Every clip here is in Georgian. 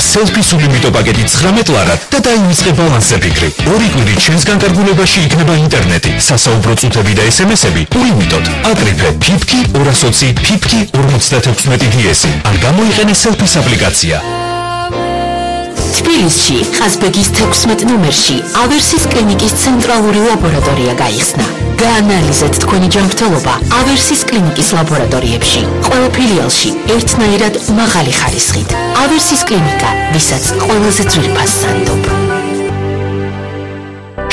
selfie სულიმიტო პაკეტი 19 ლარად და დაივიწყე ბალანსზე ფიქრი. 2 კვირით ჩვენს განკარგულებაში იქნება ინტერნეტი, სასაუბრო წუთები და SMS-ები ულიმიტოდ. აკრიფე ფიფკი 220 ფიფკი 56 DS ან გამოიყენე selfie აპლიკაცია. თბილისში, ყაზბეგის 16 ნომერში ავერსის კლინიკის ცენტრალური ლაბორატორია გაიხსნა. გაანალიზეთ თქვენი ჯანმრთელობა ავერსის კლინიკის ლაბორატორიებში. ყველა ფილიალში ერთნაირად მაღალი ხარისხით. ავერსის კლინიკა, ვისაც ყველაზე ძვირფას სანდობ.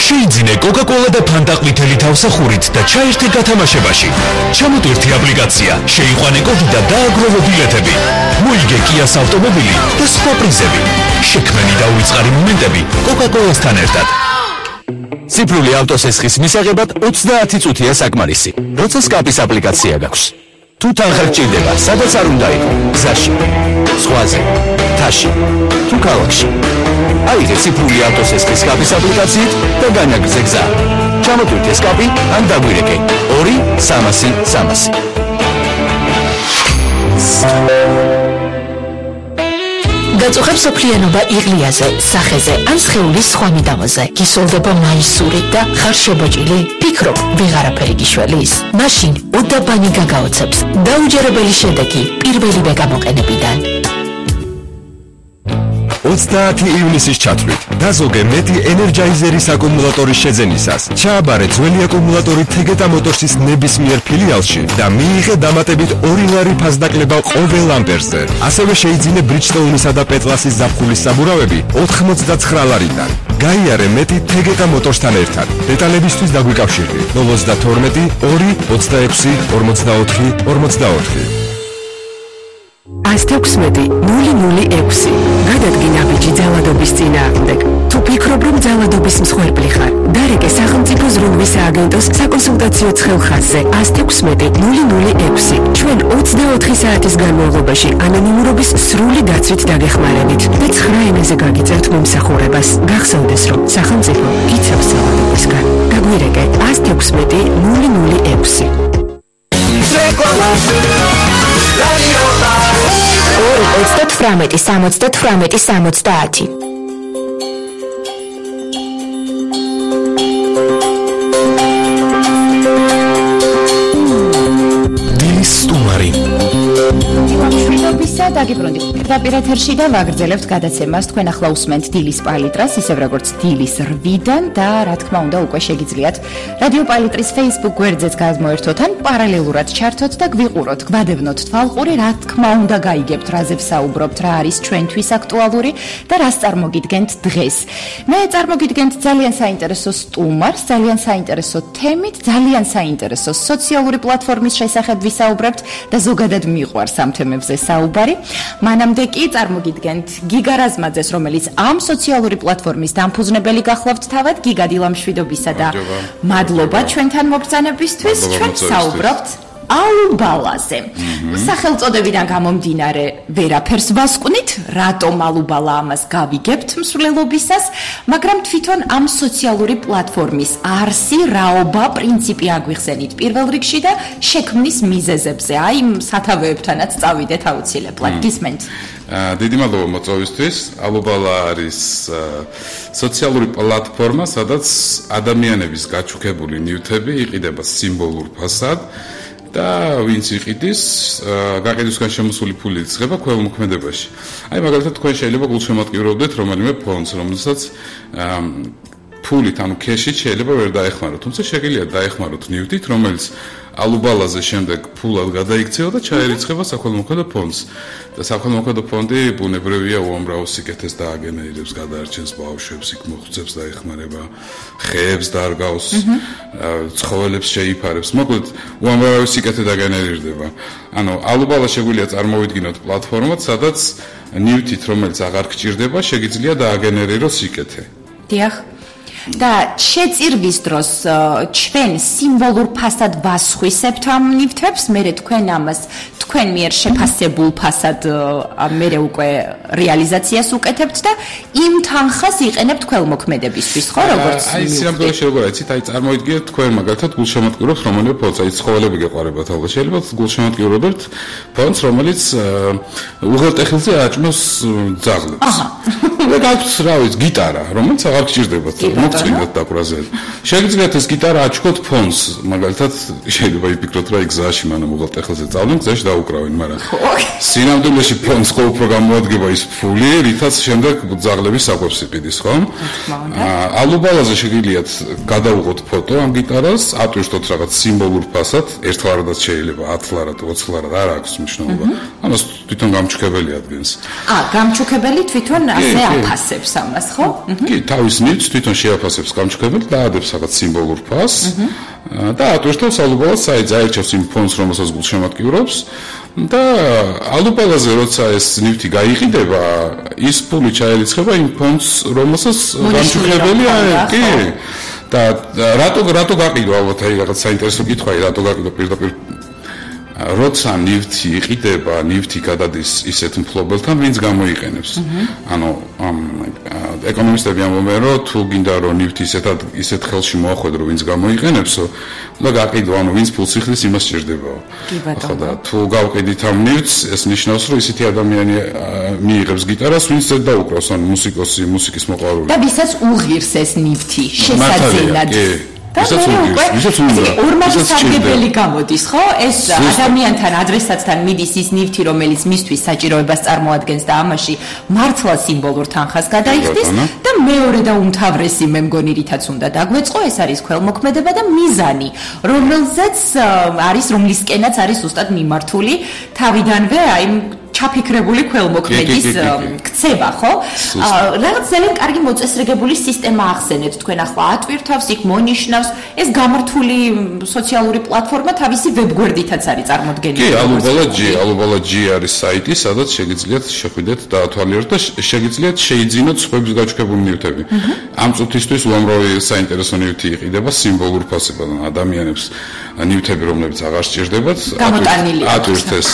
შეიძინე Coca-Cola და Fanta ყვითელი თავსახურით და ჩაერთე გათამაშებაში. ჩამოტვირთი აპლიკაცია, შეიყვანე კოდი და დააგროვო ბილეთები. მოიგე Kia's ავტომობილი და სხვა პრიზები. შექმენი და უიწყარი მომენტები Coca-Cola-სთან ერთად. ციფრული ავტოსესხის მისაღებად 30 წუთია საკმარისი. როცა სკაპის აპლიკაცია გაქვს. თუ თანხა გჭირდება, სადაც არ უნდა იყო, გზაში, ზღვაზე, მთაში, თუ ქალაქში. აიღე ციფრული ავტოსესხის სკაპის აპლიკაციით და განაგრძე გზა. ჩამოტვირთე სკაპი ან დაგვირეკე 2-300-300. გაწუხებ სოფლიანობა იღლიაზე, სახეზე ან სხეულის სხვა მიდამოზე. გისოლდება მაისური და ხარ შებოჭილი? ფიქრობ, ვეღარაფერი გიშველის? მაშინ უდაბანი გაგაოცებს. დაუჯერებელი შედეგი პირველივე გამოყენებიდან. 30 ივნისის ჩათვლით დაზოგე მეტი ენერჯაიზერის აკუმულატორის შეძენისას. ჩააბარე ძველი აკუმულატორი Tegeta Motors-ის ნებისმიერ ფილიალში და მიიღე დამატებით 2 ლარი ფასდაკლება ყოველ ამპერზე. ასევე შეიძინე Bridgestone-ისა და Petlas-ის ზაფხულის საბურავები 89 ლარიდან. გაიარე მეტი Tegeta Motors-თან ერთად. დეტალებისთვის დაგვიკავშირდით 032 2 26 44 44. 116-006 გადადგინა ბიჭი ძალადობის წინააღმდეგ. თუ ფიქრობ, რომ ძალადობის მსხვერპლი ხარ, დარეკე სახელმწიფო ზრუნვის სააგენტოს საკონსულტაციო ცხელხაზზე 116-006. ჩვენ 24 საათის განმავლობაში ანონიმურობის სრული დაცვით დაგეხმარებით და 9 ენაზე გაგიწევთ მომსახურებას. გახსოვდეს, რომ სახელმწიფო გიცავს ძალადობისგან. გაგვირეკე 116-006. 2-38-70-70. დილის სტუმარი. მშვიდობისა დაგიბრუნდით. პირდაპირ ეთერში და ვაგრძელებთ გადაცემას. თქვენ ახლა უსმენთ დილის პალიტრას, ისევ როგორც დილის 8-დან და რა თქმა უნდა უკვე შეგიძლიათ რადიო პალიტრის Facebook გვერდზეც გადმოერთოთ ან პარალელურად ჩართოთ და გვიყუროთ, გვადევნოთ თვალყური, რა თქმა უნდა გაიგებთ, რაზე ვსაუბრობთ, რა არის ჩვენთვის აქტუალური და რას წარმოგიდგენთ დღეს. მე წარმოგიდგენთ ძალიან საინტერესო სტუმარს, ძალიან საინტერესო თემით, ძალიან საინტერესო სოციალური პლატფორმის შესახებ ვისაუბრებთ და ზოგადად მიყვარს ამ თემებზე საუბარი. მანამდე კი წარმოგიდგენთ გიგა რაზმაძეს, რომელიც ამ სოციალური პლატფორმის დამფუძნებელი გახლავთ თავად. გიგა, დილა მშვიდობისა და მადლობა ჩვენთან მოგბრძანებისთვის. ჩვენ საუბრობთ ალუბალაზე. სახელწოდებიდან გამომდინარე ვერაფერს ვასკვნით, რატომ ალუბალა ამას გავიგებთ მსვლელობისას, მაგრამ თვითონ ამ სოციალური პლატფორმის არსი, რაობა, პრინციპი აგვიხსენით პირველ რიგში და შექმნის მიზეზებზე. აი, სათავეებთანაც წავიდეთ აუცილებლად. გისმენთ? დიდი მადლობა მოწვევისთვის. ალუბალა არის სოციალური პლატფორმა, სადაც ადამიანების გაჩუქებული ნივთები იყიდება სიმბოლურ ფასად და ვინც იყიდის, გაყიდვისგან შემოსული ფული იწყება ქველმოქმედებაში. აი, მაგალითად, თქვენ შეიძლება გულშემატკივრობდეთ რომელიმე ფონდს, რომელსაც ფულით, ანუ ქეშით შეიძლება ვერ დაეხმაროთ, თუმცა შეგიძლიათ დაეხმაროთ ნივთით, რომელიც ალუბალაზე შემდეგ ფულად გადაიქცევა და ჩაერიცხება საქველმოქმედო ფონდს. და საქველმოქმედო ფონდი ბუნებრივია უამრავ სიკეთეს დააგენერებს, გადაარჩენს ბავშვებს, იქ მოხუცებს დაეხმარება, ხეებს დარგავს, ცხოველებს შეიფარებს. მოკლედ, უამრავ სიკეთე დაგენერირდება. ანუ ალუბალა შეგვიძლია წარმოვიდგინოთ პლატფორმად, სადაც ნივთით, რომელიც აღარ გჭირდება, შეგიძლია დააგენერიროს სიკეთე. დიახ. და შეწირვის დროს ჩვენ სიმბოლურ ფასად ვასხვისებთ ამ ნივთებს, მერე თქვენ ამას თქვენ მიერ შეფასებულ ფასად მერე უკვე რეალიზაციას უკეთებთ და იმ თანხას იყენებთ ქველმოქმედებისთვის, ხო, როგორც აი სიამბლეში როგორ იცით, აი წარმოიდგინეთ თქვენ მაგალითად გულშემატკივრობთ რომელიმე ფონდს, აი ცხოველები გეყარებათ ალბათ, შეიძლება გულშემატკივრობთ ფონდს, რომელიც უღელტეხილზე აჭმოს ძაღლებს. აჰა. და გაქვთ რა ვიცი, გიტარა, რომელიც აღარ გჭირდებათ, მოგწმინდათ დაკვრაზე. შეგიძლიათ ეს გიტარა აჩქოთ ფონდს, მაგალითად შეიძლება იფიქროთ რა გზაში მანამ უღელტეხილზე წავდნენ, გზაში დაუკრავენ, მაგრამ სინამდვილეში ფონდს ხო უფრო გამოადგება ის ფული, რითაც შემდეგ ძაღლების საკვებს იყიდის, ხო? ალუბალაზე შეგიძლიათ გადაუღოთ ფოტო ამ გიტარას, ატვირთოთ რაღაც სიმბოლურ ფასად, ერთლარადაც შეიძლება, 10 ლარად, 20 ლარად, არ აქვს მნიშვნელობა. ამას თვითონ გამჩუქებელი ადგენს. გამჩუქებელი თვითონ ასე აფასებს ამას, ხო? კი, თავის ნივთს თვითონ შეაფასებს გამჩუქებელი, დაადებს რაღაც სიმბოლურ ფასს და ატვირთავს ალუბალას საიტზე, აირჩევს იმ ფონდს, რომელსაც გულშემატკივრობს და ალუბალაზე როცა ეს ნივთი გაიყიდება, ის ფული ჩაერიცხება იმ ფონდს, რომელსაც გამჩუქებელი კი და რატო გაყიდვა ალბათ აი რაღაც საინტერესო კითხვაა, რატო გაყიდვა პირდაპირ როცა ნივთი იყიდება, ნივთი გადადის ისეთ მფლობელთან, ვინც გამოიყენებს. ანუ ეკონომისტები ამბობენ, რომ თუ გინდა რომ ნივთი ისეთ ხელში მოახვედრო, ვინც გამოიყენებსო, და გაყიდვა, ანუ ვინც ფულს იხდის, იმას სჭირდებაო. ხო და თუ გავყიდით ამ ნივთს, ეს ნიშნავს, რომ ისეთი ადამიანი მიიღებს გიტარას, ვინც ზედ დაუკრავს, ანუ მუსიკოსი, მუსიკის მოყვარული. და ვისაც უღირს ეს ნივთი, შესაძლებლად. ორმაგი სარგებელი გამოდის, ხო? ეს ადამიანთან, ადრესატთან მიდის ის ნივთი, რომელიც მისთვის საჭიროებას წარმოადგენს და ამაში მართლა სიმბოლურ თანხას გადაიხდის და მეორე და უმთავრესი მე მგონი რითაც უნდა დაგვეწყო, ეს არის ქველმოქმედება და მიზანი, რომლისკენაც არის ზუსტად მიმართული თავიდანვე აი ჩაფიქრებული ქველმოქმედის ქცევა, ხო? რაღაც ძალიან კარგი მოწესრიგებული სისტემა ახსენეთ თქვენ ახლა ატვირთავს, იქ მონიშნავს, ეს გამართული სოციალური პლატფორმა თავისი ვებგვერდითაც არის წარმოდგენილი. კი, alubala.g არის საიტი, სადაც შეგიძლიათ შეხვიდეთ და ათვალიეროთ და შეგიძლიათ შეიძინოთ სხვების გაჩუქებული ნივთები. ამ წუთისთვის უამრავი საინტერესო ნივთი იყიდება სიმბოლურ ფასებად ადამიანებს ნივთები, რომლებიც აღარ სჭირდებათ, ატვირთეს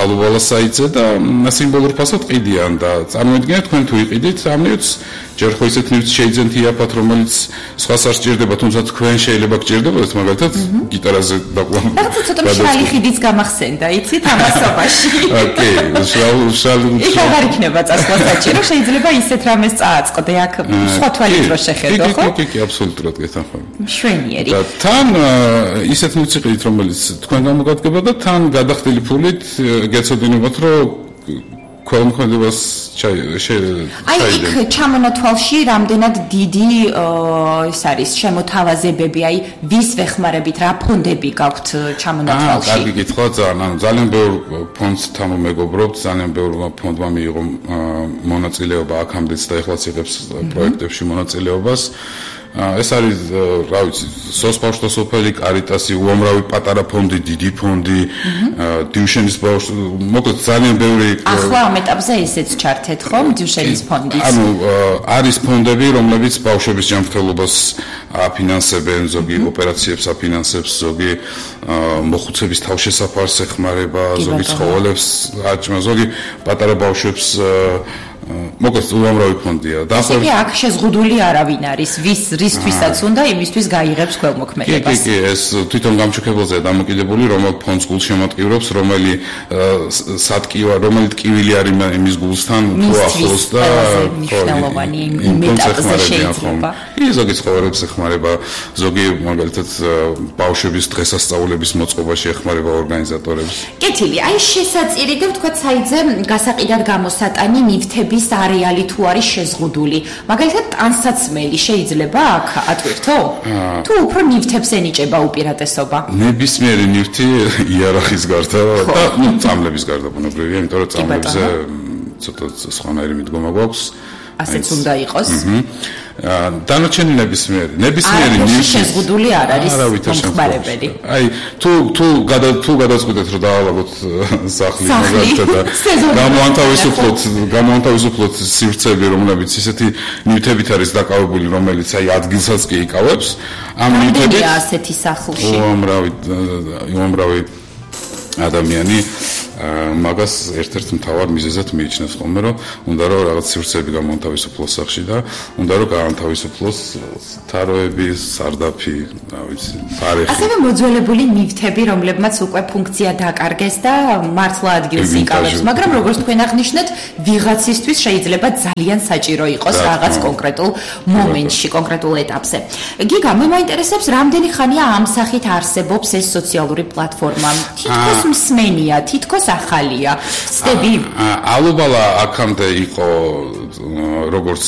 alubala საიტზე და სიმბოლურ ფასად ყიდიან და წარმოიდგინეთ თქვენ თუ იყიდით ამ ნივთს, ჯერ ხო ისეთ ნივთს შეიძენთ იაფად, რომელიც სხვას არ სჭირდება, თუმცა თქვენ შეიძლება გჭირდებოდეთ, მაგალითად გიტარაზე დაყვანა. რაღაცა ცოტა მშრალი ხიდის გამახსენდა, იცით ამასობაში. ოკეი, მშრალი. იქ აღარ იქნება წასვლა საჭირო, შეიძლება ისეთ რამეს წააწყდე, აქ სხვა თვალით რო შეხედო, ხო? კი, აბსოლუტურად გეთანხმები. მშვენიერი. და თან ისეთ ნივთს იყიდით, რომელიც თქვენ გამოგადგება და თან გადახდილი ფულით გეცოდინებათ, რომ ქველმოქმედებას აი იქ ჩამონათვალში რამდენად დიდი ეს არის შემოთავაზებები, აი ვის ვეხმარებით, რა ფონდები გაქვთ ჩამონათვალში? კარგი კითხვა, ძალიან ბევრ ფონდთან მეგობრობთ, ძალიან ბევრ ფონდმა მიიღო მონაწილეობა აქამდეც და ეხლაც იღებს პროექტებში მონაწილეობას. ეს არის, რა ვიცი, სოцбავშვთა სოფელი, კარიტასი, უამრავი პატარა ფონდი, დიდი ფონდი, დიუშენის ბავშვ, მოკლედ ძალიან ბევრი. ახლა ამ ეტაპზე ესეც ჩართეთ ხომ დიუშენის ფონდის? ანუ არის ფონდები, რომლებიც ბავშვების ჯანმრთელობას აფინანსებენ, ზოგი ოპერაციებს აფინანსებს, ზოგი მოხუცების თავშესაფარს ეხმარება, ზოგი ცხოველებს აჭმა, ზოგი პატარა ბავშვებს მოკლედ უამრავი ფონდია. და ახლა აქ შეზღუდული არავინ არის, რისთვისაც უნდა იმისთვის გაიღებს ქველმოქმედებას. კი, ეს თვითონ გამჩუქებელზეა დამოკიდებული, რომელ ფონდს გულშემატკივრობს, რომელი ტკივილი არის იმის გულსთან, თუ ახლოს და მნიშვნელოვანი იმ ეტაპზე შეიძლება. კი, ზოგი ცხოველებს ეხმარება, ზოგი მაგალითად ბავშვების დღესასწაულების მოწყობაში ეხმარება ორგანიზატორებს. კეთილი, აი შესაწირი და ვთქვათ საიტზე გასაყიდად გამოსატანი ნივთები არეალი თუ არის შეზღუდული. მაგალითად, ტანსაცმელი შეიძლება აქ ატვირთო? თუ უფრო ნივთებს ენიჭება უპირატესობა? ნებისმიერი ნივთი იარაღის გარდა და წამლების გარდა ბუნებრივია, იმიტომ რომ წამლებზე ცოტა სხვანაირი მიდგომა გვაქვს. ასეც უნდა იყოს. დანარჩენი ნებისმიერი ნივთი შეზღუდული არ არის მომხმარებელი. აი თუ გადაწყვეტეთ რომ დაავადოთ სახლი მაგალითად და გამოანთავისუფლოთ სივრცეები, რომლებიც ისეთი ნივთებით არის დაკავებული, რომელიც აი ადგილსაც კი იკავებს, ამ ნივთებით ასეთი სახლში უამრავი ადამიანი მაგას ერთ-ერთ მთავარ მიზეზად მიიჩნევს ხოლმე, რომ უნდა რომ რაღაც სივრცეები გამოთავისუფლოს სახში და უნდა რომ გაანთავისუფლოს თაროები, სარდაფი, რა ვიცი, ფარეხი. ასევე მოძველებული ნივთები, რომლებმაც უკვე ფუნქცია დაკარგეს და მართლა ადგილს იკავებს, მაგრამ როგორც თქვენ აღნიშნეთ, ვიღაცისთვის შეიძლება ძალიან საჭირო იყოს რაღაც კონკრეტულ მომენტში, კონკრეტულ ეტაპზე. გიგა, მე მაინტერესებს, რამდენი ხანია ამ სახით არსებობს ეს სოციალური პლატფორმა? თითქოს მსმენია, თითქოს ახალია. ცდები? ალუბალა აქამდე იყო როგორც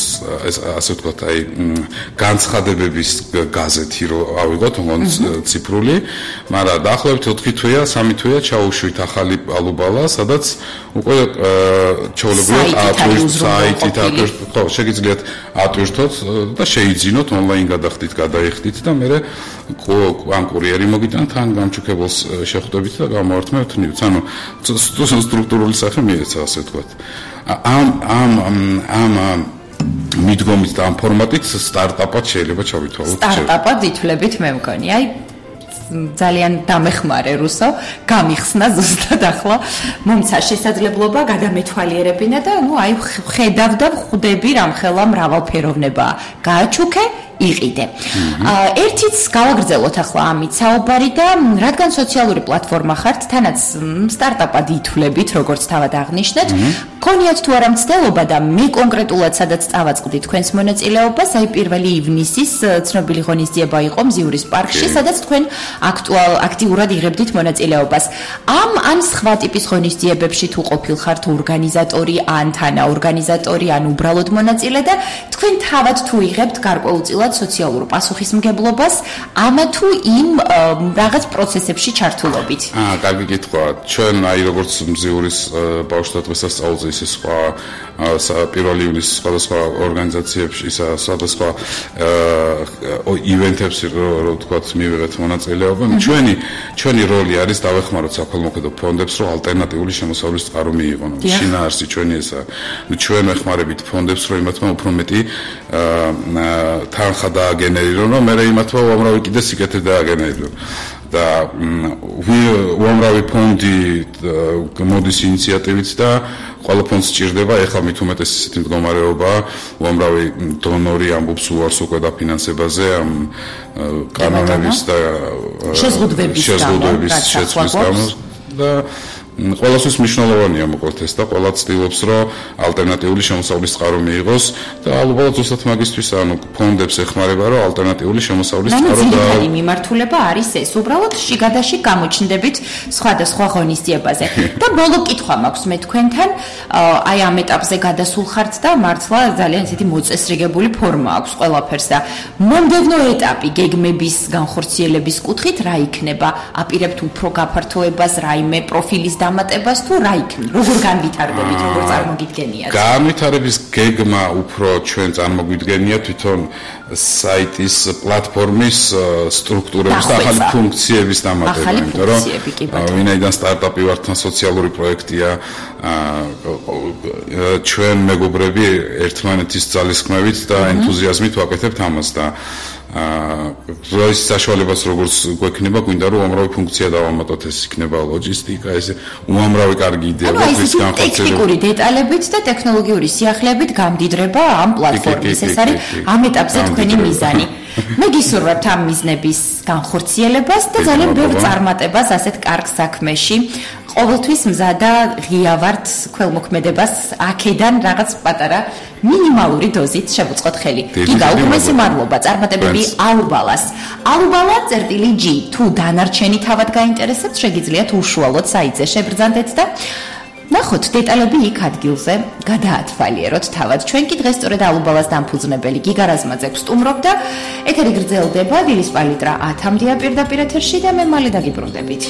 ასე ვთქვათ, აი განცხადებების გაზეთი რო ავიღოთ, თუნდაც ციფრული, მაგრამ დაახლოებით 4 თვეა, 3 თვეა ჩაუშვით ახალი ალუბალა, სადაც უკვე ჩაოლებიათ საიტით, ხო, შეგიძლიათ ატვირთოთ და შეიძინოთ ონლაინ გადახდით, გადაიხდით და მე ან კურიერი მოგიტანთ, ან გამჩუქებელს შეხვდებით და გამოვართმევთ ნივთს. ანუ სტრუქტურული სახე მიეცა, ასე ვთქვათ. ამ მიდგომით და ამ ფორმატით სტარტაპად შეიძლება ჩავითვალოთ. სტარტაპად ითვლებით მე მგონი. აი ძალიან დამეხმარე რუსო, გამიხსნა ზუსტად ახლა მომცა შესაძლებლობა გადამეთვალიერებინა და ნუ აი ხედავ და ხვდები რამხელა მრავალფეროვნებაა. გააჩუქე იყიდე. ერთიც გავაგრძელოთ ახლა ამით საუბარი და რადგან სოციალური პლატფორმა ხართ, თანაც სტარტაპად ითვლებით, როგორც თავად აღნიშნეთ, გქონიათ თუ არა მცდელობა და მე კონკრეტულად სადაც წავაწყდი თქვენს მონაწილეობას, აი 1 ივნისის ცნობილი ღონისძიება იყო მზიურის პარკში, სადაც თქვენ აქტიურად იღებდით მონაწილეობას. ან სხვა ტიპის ღონისძიებებში თუ ყოფილხართ ორგანიზატორი, ან თანაორგანიზატორი, ან უბრალოდ მონაწილე და თქვენ თავად თუ იღებთ გარკვეულწილად სოციალურ პასუხისმგებლობას ამა თუ იმ რაღაც პროცესებში ჩართულობით. კარგი კითხვა. ჩვენ აი როგორც მზიურის ბავშვთა დღესასწაულზე ისე სხვა 1 ივნისის სხვადასხვა ორგანიზაციებში, სხვადასხვა ივენთებში რო ვთქვათ მივიღეთ მონაწილეობა. ჩვენი როლი არის დავეხმაროთ საქველმოქმედო ფონდებს, რომ ალტერნატიული შემოსავლის წყარო მიიღონ. შინაარსი ჩვენი ესაა. ჩვენ ვეხმარებით ფონდებს, რომ იმათმა უფრო მეტი თანხა დააგენერირონ, რომ მე იმათმა უამრავი კიდე სიკეთე დააგენერირონ. და უამრავი ფონდი მოდის ინიციატივით და ყველა ფონდს სჭირდება, ეხლა მით უმეტეს ისეთი მდგომარეობაა, უამრავი დონორი ამბობს უარს უკვე დაფინანსებაზე ამ კანონების და შეზღუდვების შეცვლის გამო და ყველასთვის მნიშვნელოვანია მოკლედ ეს და ყველა ცდილობს, რომ ალტერნატიული შემოსავლის წყარო მიიღოს და ალბათ ზუსტად მაგისთვის, ანუ ფონდებს ეხმარება, რომ ალტერნატიული შემოსავლის წყარო და ძირითადი მიმართულება არის ეს, უბრალოდ შიგადაში გამოჩნდებით სხვადასხვა ღონისძიებაზე. და ბოლო კითხვა მაქვს მე თქვენთან, აი ამ ეტაპზე გადასულ ხართ და მართლა ძალიან ისეთი მოწესრიგებული ფორმა აქვს ყველაფერს და მომდევნო ეტაპი გეგმების განხორციელების კუთხით რა იქნება? აპირებთ უფრო გაფართოებას, რაიმე პროფილის დამატებას თუ რა იქნება? როგორ განვითარდებით, როგორ წარმოგიდგენიათ? განვითარების გეგმა უფრო ჩვენ წარმოგვიდგენია თვითონ საიტის პლატფორმის სტრუქტურების და ახალი ფუნქციების დამატება, იმიტომ რომ ვინაიდან სტარტაპი ვართ, სოციალური პროექტია, ჩვენ მეგობრები ერთმანეთის ძალისხმევით და ენთუზიაზმით ვაკეთებთ ამას და როის საშუალებას როგორც გვექნება, გვინდა რომ უამრავი ფუნქცია დავამატოთ, ეს იქნება ლოჯისტიკა, ეს უამრავი კარგი იდეები ეს განხორციელება. ტექნიკური დეტალებით და ტექნოლოგიური სიახლეებით გამდიდრება ამ პლატფორმის. ეს არის ამ ეტაპზე თქვენი მიზანი. მე გისურვებთ ამ მიზნების განხორციელებას და ძალიან ბევრ წარმატებას ასეთ კარგ საქმეში. ყოველთვის მზად და ღია ვართ ქველმოქმედებას აქედან რაღაც პატარა მინიმალური დოზით შევუწყოთ ხელი. გიგა, უღმესი მადლობა, წარმატებები ალუბალას. alubala.g თუ დანარჩენი თავად გაინტერესებთ, შეგიძლიათ უშუალოდ საიტზე შებრძანდეთ და ნახოთ დეტალები იქ ადგილზე, გადაათვალიეროთ თავად. ჩვენ კი დღეს სწორედ ალუბალას დამფუძნებელი გიგა რაზმაძე გვსტუმრობ და ეთერი გრძელდება დილის პალიტრა 10-მდეა პირდაპირ ეთერში და მე მალე დაგიბრუნდებით.